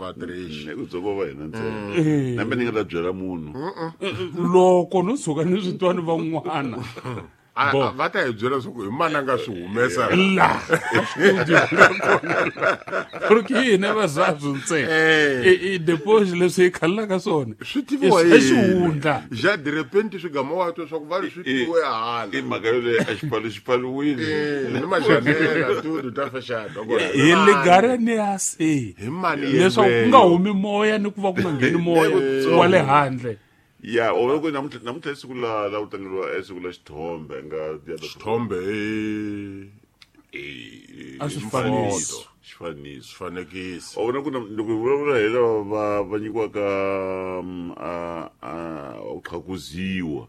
va Trish. Ku dzoko va hina ntsena. Nambe ni nga ta byela munhu. Loko no tshuka ni swi twa ni van'wana. Va ta hi byela leswaku hi mani a nga swi humesa la studio nga kona la porque hina vazabyu ntsena. I deposit leswi hi khalelaka swona swi tiviwa i xihundla ja de repente swi gama wa twa swa ku va ri swi tiviwe hala I mhaka yoleyo a xipfalo xi pfaliwile ni majanela tudu ta fexana hi ligare ni ya se hi mani leswaku ku nga humi moya ni ku va ku nga ngheni moya wa le handle. Ya, o loko namuntlha i siku la ku tlangeriwa i siku la xithombe nga ya xithombe A swi fanisi. Xifaniso. Swifanekiso. O vona ku loko hi vulavula hi lava va nyikiwaka ku qhakuziwa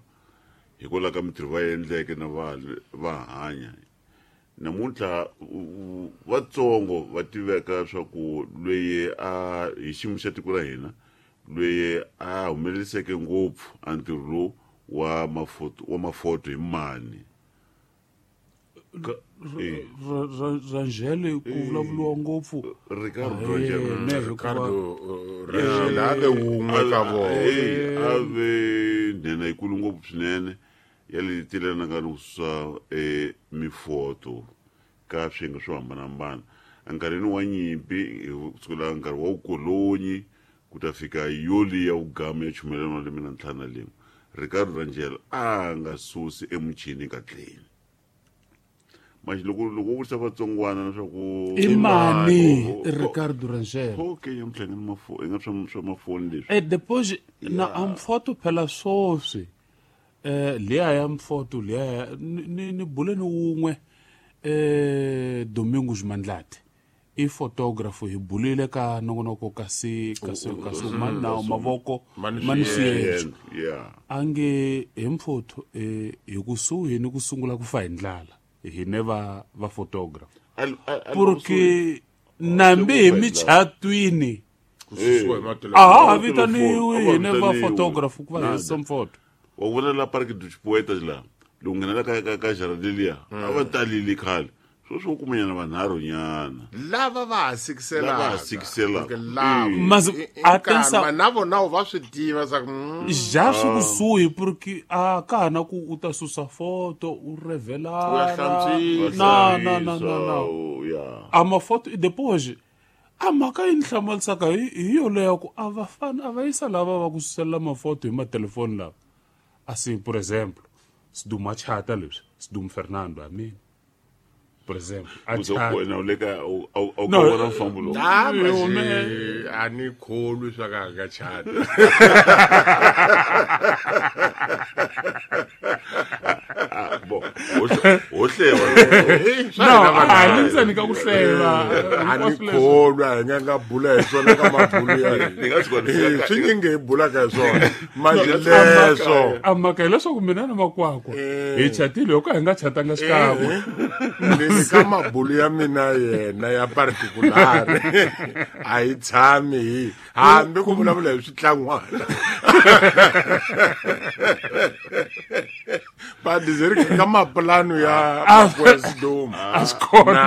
hikwalaho ka mintirho va endleke na va hanya namuntlha vatsongo va tiveka swa ku loyi a hi xiyimo xa tiko ra hina loyi a humeleriseke ngopfu a ntirho lowu wa mafoto wa mafoto hi mani. Rangel ku vulavuriwa ngopfu. Ricardo Rangel. Ricardo Rangel a ve wun'we ka vona. A ve nhenha yikulu ngopfu swinene ya le tilanaka ni ku susa mifoto ka swiyenge swo hambanahambana enkarhini wa nyimpi kusukela nkarhi wa vukolonyi ku ta fika yoli ya vugama ya chumayela malembe na ntlhanu na rin'we. Ricardo Rangel a nga susi emuchini katleni. Manje loko u vutisa vatsongwana leswaku i mani Ricardo Rangel? Okay, nyamutlha nga ni nga swa mafoni leswi. Depois na amfoto phela swoswi. Liya ya mfoto liya ni bule ni wun'we Domingos Mandlati. I photographer hi bulile ka nongonoko kasi mani na mavoko mani swiendlo. Ange hi mfoto hi kusuhi ni ku sungula ku fa hi ndlala hi ne va photographer. Porque nambi hi michatwini a vitaniwi hi ne va photographer ku va hi some photo. Wa vona la Parque dos Poetas la loko nghena la ka Jardilia a va talile khale. Sweswi u kumanyana vanharhu nyana lava va ha sikiselaka na vona va swi tiva swa ja swi kusuhi porque a ka ha na ku u ta susa foto u revelara na na na na a mafoto depois a mhaka yi ni hlamalisaka hi yoleyo ku a va fani a va yisa lava va ku suselela mafoto hi matelefoni lava assim por exemplo Siduma chata leswi Siduma Fernando a mina. Por exemplo, a a ni kholwi swa ka nga chata. Bo, o hleva. No, a ni ntsena ka ku hleva. A ni kholwa hi nga bula hi swona ka mabulu ya. Swi nge hi bulaka hi swona. Manje leswo. A mhaka hileswaku mina na makwakwa hi chatile loko hi nga chatanga xikan'we. Ni ka mabulu ya mina yena ya particular a yi tshami hi hambi ku vulavula hi switlangwana. Badizeri ka mapulano ya Westdom a swi kona.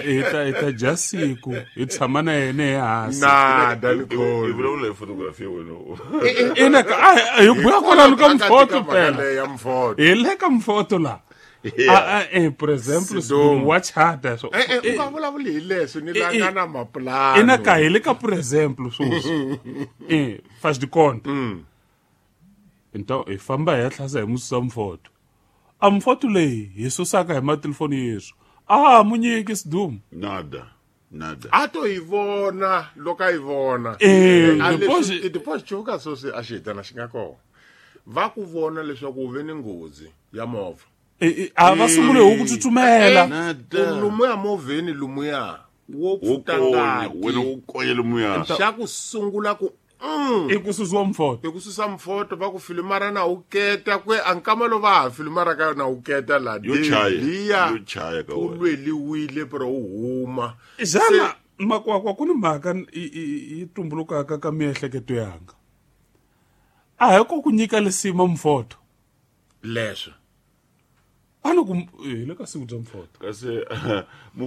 Hi ta dya siku hi tshama na yena ehansi. Nada ni kholwi. Hi vulavula hi photography wena. Ina hi buya kwalano ka mfoto phela. Ya mfoto. Hi le ka mfoto la. Por exemplo, wa chata so. U nga vulavuli hi leswi ni la nga na mapulano. Ina ka hi le ka por exemplo sweswi. Faz de conta. Então, hi famba hi ya tlhasa hi mususa mfoto. A mfoto leyi hi susaka hi matelefoni yesu. A mu nyiki Sidumo. Nada. Nada. A to hi vona loko a yi vona. Depois chuka sweswi a xi hitana xi nga kona. Va ku vona leswaku u ve ni nghozi ya movha. A va sungule hi ku tsutsumela. Lumuya movheni lumuya wo pfuta ngati. Wena u konya lumuya. Xa ku sungula ku i ku susiwa mfoto. I ku susa mfoto va ku filimara na u keta kwe a nkama lo va ha filimara ka na u keta la. Yo chaya. Yo chaya ka wena. U lweliwile pero u huma. Xana makwakwa ku ni mhaka yi tumbulukaka ka miehleketo yanga. A hi ko ku nyika lisima mfoto. Leswo. A ni ku hi le ka siku bya mfoto. Kasi